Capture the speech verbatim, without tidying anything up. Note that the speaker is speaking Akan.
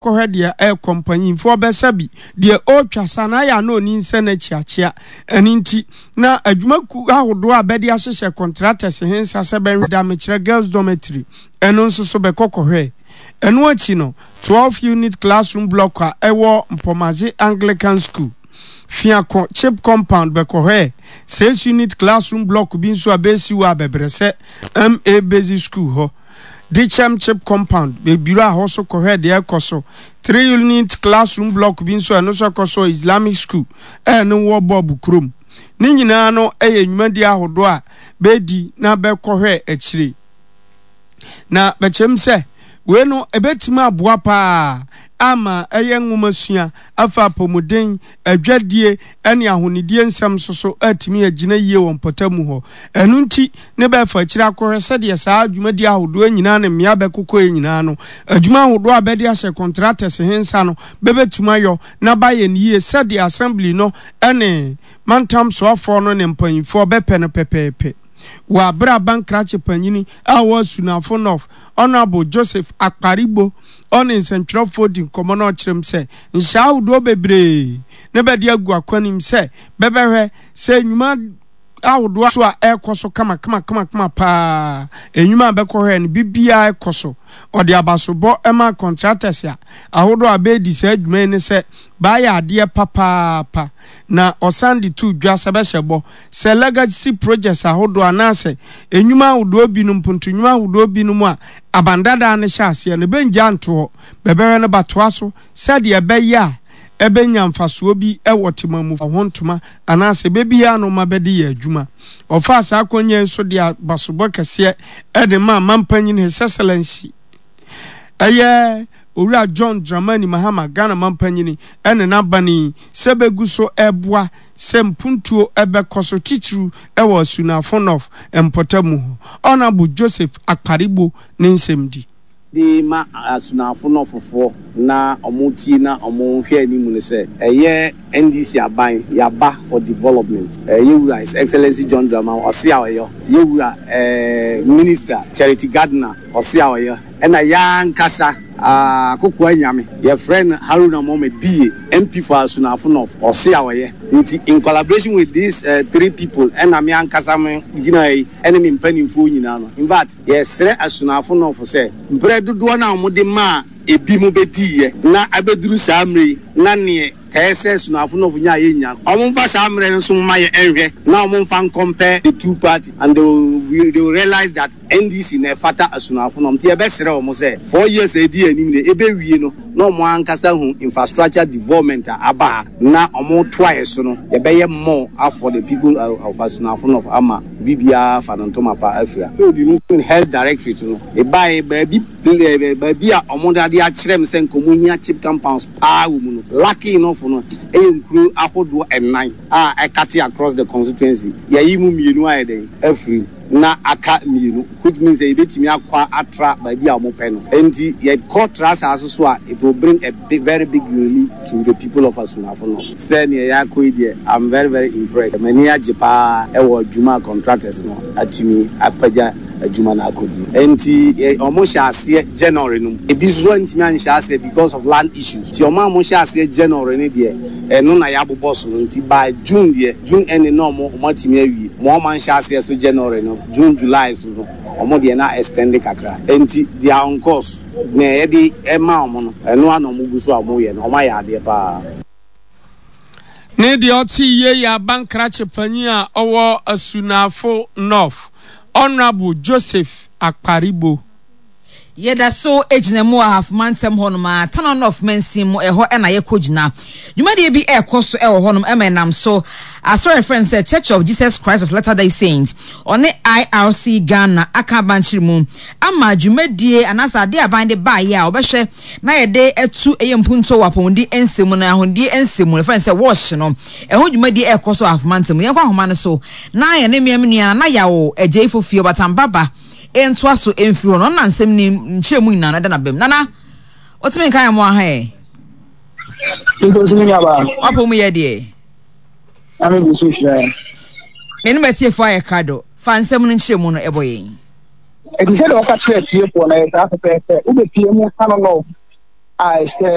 Kɔhwɛ deɛ ɛrekɔ mpanyinfoɔ bɛsa bi deɛ ɔretwa sa na ayɛ a na ɔni nsɛ no akyiakyia. Ɛno nti na adwumakuo ahodoɔ a bɛde ahyehyɛ contractors he nsa sɛ bɛnhwɛ da mekyerɛ girls dormitory ɛno nso so bɛkɔ kɔhwɛɛ. Ɛno akyi no twelve unit classroom block a ɛwɔ Mpɔmadze Anglican School, Fiako Chip Compound bɛkɔhwɛɛ six unit classroom block bi nso a bɛresi wɔ Abɛbrɛsɛ M A Basic School hɔ. Dikyɛm CHPS compound bebiri a hɔ so kɔhwɛ deɛ ɛkɔ so. Three unit classroom block bi nso ɛno nso ɛkɔ so Islamic School ɛne wɔ Bɔɔbo kurom. Ne nyinaa no ɛyɛ nnwumadie ahodoɔ a bɛdi na bɛkɔhwɛ akyire. Na bɛkyerɛm sɛ wei no ɛbɛtumi aboa paa ama ɛyɛ nwoma sua afa apɔmuden, adwadie ne ahonidie nsɛm nso so atumi agyina yie wɔ mpɔtamu hɔ. Ɛno nti ne bɛfa akyire akɔhwɛ sɛdeɛ saa dwumadie ahodoɔ nyinaa ne mmea bɛkokɔ yi nyinaa no adwuma ahodoɔ a bɛde ahyɛ contractors he nsa no bɛbɛtumi ayɔ na bayɛ no yie sɛdeɛ assembly no ne mantam soafoɔ no ne mpanyinfoɔ bɛpɛ no pɛpɛɛpɛ. Wɔ abere a bankrakye panyini a ɔwɔ Asunafo North, Honourable Joseph Akparibo, ɔne nsɛntwerɛfoɔ di nkɔmmɔ na ɔkyerɛm sɛ nhyɛ ahodoɔ bebree ne bɛde agu akwanim sɛ bɛbɛhwɛ sɛ nnwuma ahodoɔ so a ɛrekɔ so kama kama kama kama paa. Nnwuma a bɛkɔhwɛ no bibiara ɛkɔ so. Ɔde abasobɔ ma contractors a ahodoɔ a bɛredi saa adwuma yi ne sɛ baayɛ adeɛ papaapa, na ɔsan de to dwa sɛ bɛhyɛ bɔ sɛ legacy projects ahodoɔ anaasɛ nnwuma ahodoɔ binom, mponto ahodoɔ binom a abandadaa no hyɛ aseɛ no bɛngya nto hɔ, bɛbɛhwɛ no batoa so sɛdeɛ ɛbɛyɛ a ɛbɛnya mfasoɔ bi ɛwɔ temamu ho ntoma anaasɛ bɛbiara no ma bɛde yɛ adwuma. Ɔfaa saa akonnwa nso de abasobɔ kɛseɛ ɛde ma mampanyin His Excellency ɛyɛ Owura John Dramani Mahama, Ghana mampanyini, ɛne n'abani sɛ bɛgu so ɛboa sɛ mpuntuo ɛbɛkɔ so, titiriw ɛwɔ Asunafo North mpɔtamu hɔ. Honourable Joseph Akparibo ne nsɛm di. De ma Asunafo Northfoɔ na ɔmo tie na ɔmo hwɛ anim no sɛ ɛyɛ N D C aban yaba for development. Ɛyɛ wura His Excellency John Dramani ɔse a ɔyɛ yɛwura ɛɛ Minister Charity Gardiner ɔse a ɔyɛ ɛna yɛankasa akokoa nyame yɛfrɛ no Haruna Mohammed B A M P for Asunafo North ɔse a ɔyɛ. Nti in collaboration with these uh, three people ɛna me ankasa me gyina yi ɛne me mpanimfoɔ nyinaa no, in fact, yɛsrɛ Asunafo North sɛ mprɛ dodoɔ no a wɔde maa ebi mu bɛdiiɛ na abɛduru saa mmerɛ yi na neɛ kɛyɛ sɛ Asunafo North nya a yɛnya no, ɔmo mfa saa mmerɛ no nso mma yɛ ɛnhwɛ na ɔmo mfa ncompare the two party and they will, they will realize that N D C na ɛfata Asunafo North. Nti yɛbɛsrɛ wɔn sɛ four years a edi anim de ebewie no na ɔmo ankasa hu infrastructure development a aba ha na ɔmo toa yɛ so no, yɛbɛyɛ more for the people of Asunafo North ama biribiara fa no ntoma pa afira. So health directorate no ebaeɛ baabi baabi a ɔmo de ade akyerɛ m sɛ nkɔmɔ hia CHPS compounds paa wɔ mu no, lucky enough no ɛyɛ nkuro ahodoɔ ɛnan a ɛcut across the constituency. Yɛyi mu mmienu ayɛ dɛn afiri na aka mmienu, which means sɛ yɛbɛtumi akɔ atra baabi a wɔn pɛ no. Nti yɛkɔ tra saa so so a, it will bring a big, very big relief to the people of Asunafo no. Sɛ nea yɛakɔ yi deɛ, I'm very very impressed. M'ani agye paa ɛwɔ adwuma contractors no atumi apagya adwuma no akɔduru. Nti wɔn hyɛ aseɛ January no mu, ebi nso ntumi anhyɛ aseɛ because of land issues. Nti wɔn a wɔhyɛ aseɛ January no deɛ, ɛno na yɛabobɔ so no. Nti by June deɛ, June ending na wɔn wɔn atumi awie. Wɔn a wɔn anhyɛ aseɛ so January no, June, July so no, wɔn deɛ na extend kakra. Nti they are on course na yɛde ɛma wɔn no, ɛno ana wɔn gu so a wɔn yɛ no, wɔn ayɛ adeɛ paa. Ne deɛ ɔte yie yɛ abankrakye panyin a ɔwɔ Asunafo North, Honourable Joseph Akparibo. Yɛda so gyina mu wɔ Ahafoma ntɛm hɔnom a Tano North mansin mu ɛhɔ ɛna yɛkɔ gyina dwumadie bi ɛrekɔ so ɛwɔ hɔnom ɛma ɛnam so asɔre frɛ no sɛ Church of Jesus Christ of Latter Day Saints ɔne I R C Ghana aka abankyere mu ama dwumadie anaasɛ adeɛ aban de baayɛ a wɔbɛhwɛ na yɛde ɛtu ɛyɛ mpuntuo wɔ apɔmuden nsɛm mu na ahondie nsɛm mu yɛfrɛ no sɛ WASH no ɛho dwumadie ɛrekɔ so Ahafoma ntɛm. Yɛnkɔ ahoma no so na yɛne mmea nua na yawo Agyei Fofie Ɔbatambaba ntoa so mfiri hɔ no ɔna nsɛm ni nkyerɛ mu nyinaa no ɛda n'abam. Nana wotumi nka yɛn mo aha ɛ. Nkosi mi nyaba. Wapɔ mu yɛ deɛ. Na mi gu so hyerɛ. Mene matiefoɔ ayɛ krado fa nsɛm no nkyerɛ mu no ɛbɔ yɛn. Ɛti sɛ deɛ wɔka kyerɛ tiefoɔ no, ɛyɛ saa pɛpɛɛpɛ. Wobɛpie mu Tano North a ɛhyɛ